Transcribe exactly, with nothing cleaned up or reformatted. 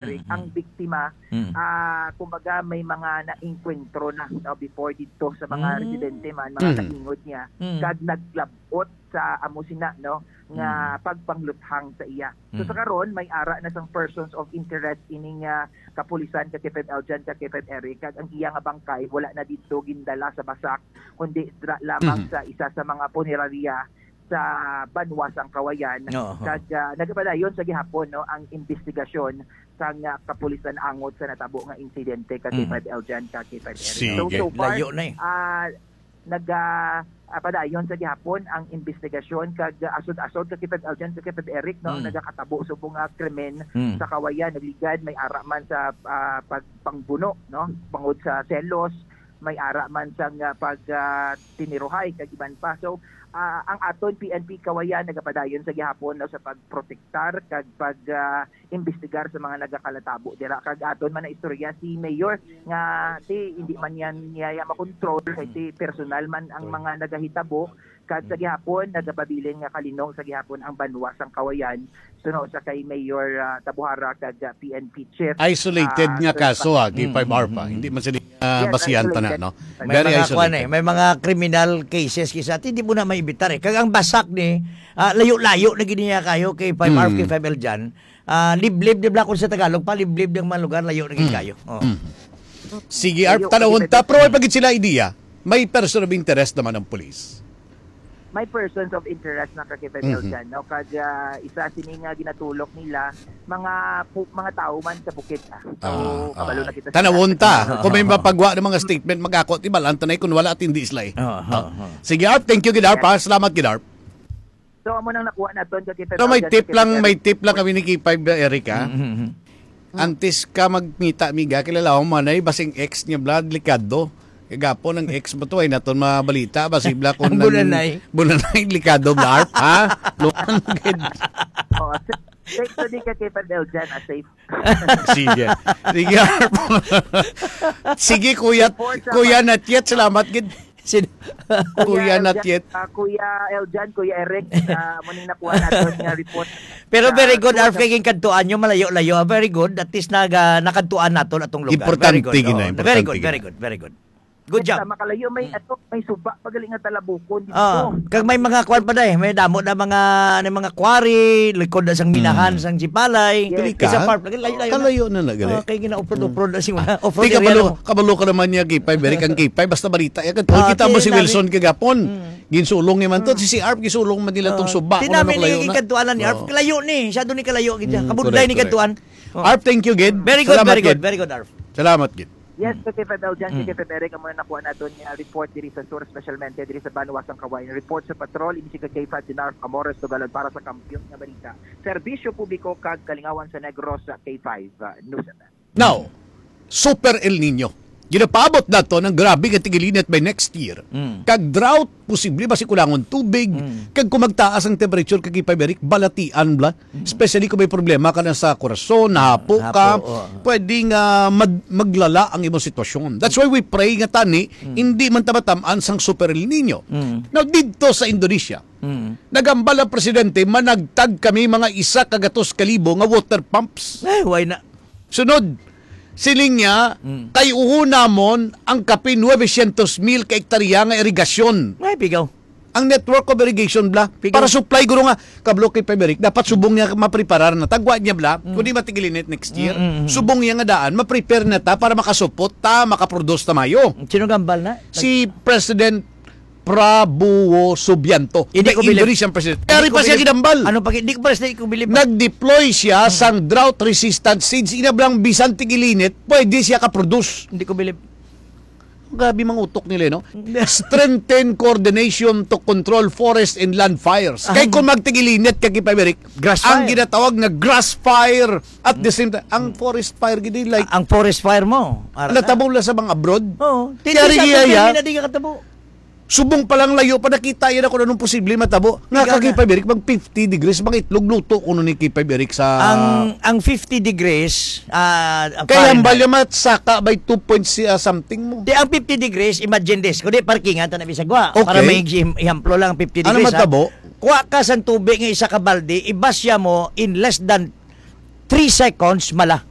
Eric, Mm. ang biktima, Mm. ah, kumbaga, may mga naengkwentro na, no, before dito sa mga Mm. residente man, mga Mm. kaingod niya, Mm. kag naglabot sa amo sina, no, nga Mm. pagpangluthang sa iya. So, sa Mm. karon, may ara na sang persons of interest ining, ah, kapulisan ka K five Eljan, ka K five Eric, kag ang iya nga bangkay wala na dito gindala sa basak, kundi dira lamang Mhm. sa isa sa mga punerarya sa banwa sang Kawayan. Oo. Kag, ah, nagapadayon sa gihapon, no, ang imbestigasyon sang, ah, kapulisan angot sa natabo nga insidente ka Mm. K five Eljan, ka K five Eric. So, Sige. so far, Layo na eh. ah, nag, ah, ah, padayon sa gihapon ang imbestigasyon kag, ah, asod-asod ka K five Eljan, ka K five Eric, no, ang Mm. nagakatabo subong nga krimen Mm. sa Kawayan. Nagligad, may ara man sa, ah, pagpangbuno, no, bangod sa selos, may ara man sang, ah, pag, ah, tiniruhay kag iban pa. So, ah, ang aton P N P Kawayan nagapadayon sa gihapon, no, sa pagprotektar kag pag, ah, imbestigar sa mga nagakalatabo dira. Kag aton man na istorya si Mayor nga si hindi man yan niya makontrol kay si personal man ang mga nagahitabo. Kag sa gihapon nagapabilin nga kalinong sa gihapon ang banwa sang Kawayan suno sa kay Mayor, ah, Tabuhara kag, ah, P N P Chief, Isolated ah, nga Sir kaso, Pa- ah, K five Mm, Arpa. mm, mm. Hindi man sila, ah, Yes, basihan isolated. tanan, no? May Very mga kuwan isolated. eh, may mga criminal cases kisa, hindi mo na maibitar eh. Kag ang basak ni, ah, layo-layo na gid niya kayo kay five hours, Mm. kay five L dyan. Ah, liblib, di ba, kung sa Tagalog pa, liblib ng mga lugar, layo na gid Mm. kayo. Oh. Mm. Sige, Arp, Layo, tanawon kasi ta, pero may pagid sila idea. May person of interest naman ang police. May persons of interest na ka K five L Mhm. dyan, no? Kag, ah, isa sini nga ginatulok nila, mga pu-, mga tao man sa bukid, ah. So, Ah, kabalo ah. na kita sa Tanawon ta. Kung may mapagwa ng mga statement, mag-ako, di ba, lang tanay kung wala at hindi sila eh. Oo, Ah. oo, oo. Sige, Arp. Thank you, gid, Arp, ha? Salamat, gid, Arp. So, amo nang nakuha naton sa K five Pero may L dyan, tip sa lang, K five L. may tip lang kami ni K five, Eric, ha? Mm, mm, mm. Antes ka magmita, amiga, kilala mo man ay basing ex niya, bla, delikado. Kagapon ang ex mo to, ay naton mabalita, basi bla kung Ang nang bulanay. bulanay, delikado, bla, Arp, ha? Luman, gid. Oh, safe, safe to di ka K five L dyan, ah, safe. Sige. Sige, Arp. Sige, Kuya, Report sa Kuya Natyet, salamat, gid. Sin- Kuya Kuya Eljan, Natyet. ah, Kuya Eljan, Kuya Eric, ah, muning nakuha naton nga report Pero sa very good, Arf, Kuya kay ginkadtuan nyo, malayo-layo. Ah, very good. At least naga, nakadtuan naton atong lugar. Importante Very good. gina, Oo. importante Very good, gina. very good, very good. Good Yes, job. ah, makalayo, may, Mm. ato, may suba pa gali nga talabukon dito. Ah, kag may mga kwan pa, day. May damo na mga, ano, mga quarry, likod na sang minahan, Mm. sang Sipalay. Yes. Pili Isa ka? park, layo-layo na. Kalayo na na gali. Ah, kay gina-offroad, Mm. offroad na si mga Ah, offroad di area kabalo, mo. kabalo ka naman niya, K five, Eric, ang K five, basta balita. Yan, Ah, kita mo di si namin. Wilson kagapon. Mm. Ginsulong ni man to, Mm. si, si Arp, gisulong man nila tong Ah, suba. di Kung ano namin kalayo ni na. kadtuanan ni Arp. Oo. Kalayo ni, siya doon ni kalayo, gid siya. Mm, Kabudlay correct, ni correct. kadtuan. Oh. Arp, thank you, gid. Very good, Salamat, very good, gid. very good, Arp. Salamat, gid. Yes, Mm. K five Eljan, Mm. K five Eric, amo na nakuha naton nga report diri sa sur, specialmente diri sa Banwa sang Kawayan. Report sa patrol, ini si K five Dinarf Amores Tugalon para sa Kampiyon nga Balita. Serbisyo publiko kag kalingawan sa Negros sa K five, uh, News F M. Now, Super El Nino. Ginapaabot naton ang grabe nga tigilinit by next year. Mm. Kag drought, posible ba si kulangon tubig? Mm. Kag kung magtaas ang temperature, kag ipamirik, balatian bla. Mm. Especially kung may problema ka na sa korason, nahapo Hapo, ka, oo. pwede nga mag-, maglala ang imong sitwasyon. That's why we pray nga tani, Mm. hindi man ta matamaan sang Super El Nino. Mm. Now, didto sa Indonesia, Mm. nagambal ang presidente, managtag kami mga isa ka gatos ka libo nga water pumps. Ay, why na? Sunod, siling niya, Mm. kay uho namon ang kapin nuebe syentos mil ka ektarya nga irigasyon. Ay, pigaw. Ang network of irrigation, bla, Pigaw. para supply, guro nga, kablo kay Pabrik, dapat subong niya mapreparar na. Tagwa niya, bla, Mm. kundi matigilinit next year, Mm, mm, mm. subong niya nga daan, ma-prepare na ta para makasupot ta, makaproduce ta mayo. Sino gambal na? Si President Prabowo Subianto. Hindi The ko bilib. Indonesian president. Hindi Pero ko pa siya bilib. ginambal. Ano pa, hindi ko, president, ko bilib. Nag-deploy siya Mm. sang drought-resistant seeds. Inablang bisan tigilinit, pwede siya ka-produce. Hindi ko bilib. Grabe mga utok nila, no? Strengthen coordination to control forest and land fires. Ah. Kay kung magtigilinit ka, Kipay Berik, Grass ang fire. ginatawag na grass fire at the Mm. same time, ang Mm. forest fire, gid, like, Ang forest fire mo. Ara na. natabula sa mga abroad. Oo. Titi Yari sa iya, atin, ya. hindi na di ka katabo. Subong pa lang layo pa, nakita yan ako anong posible matabo. Nga Ikaw kagipay na. Berik, mag fifty degrees, mga itlog luto kuno ni Kipay Berik sa Ang, ang fifty degrees, ah, Kaya ang Fahrenheit. balya matsaka by two point si-, ah, something mo. Di, ang fifty degrees, imagine this. Kundi parkingan ta na bisag wa. Okay. Para may iham-, ihamplo lang ang fifty Ano degrees, ha? matabo? Kuha ka sang tubig nga isa ka balde, ibasya mo in less than three seconds, mala.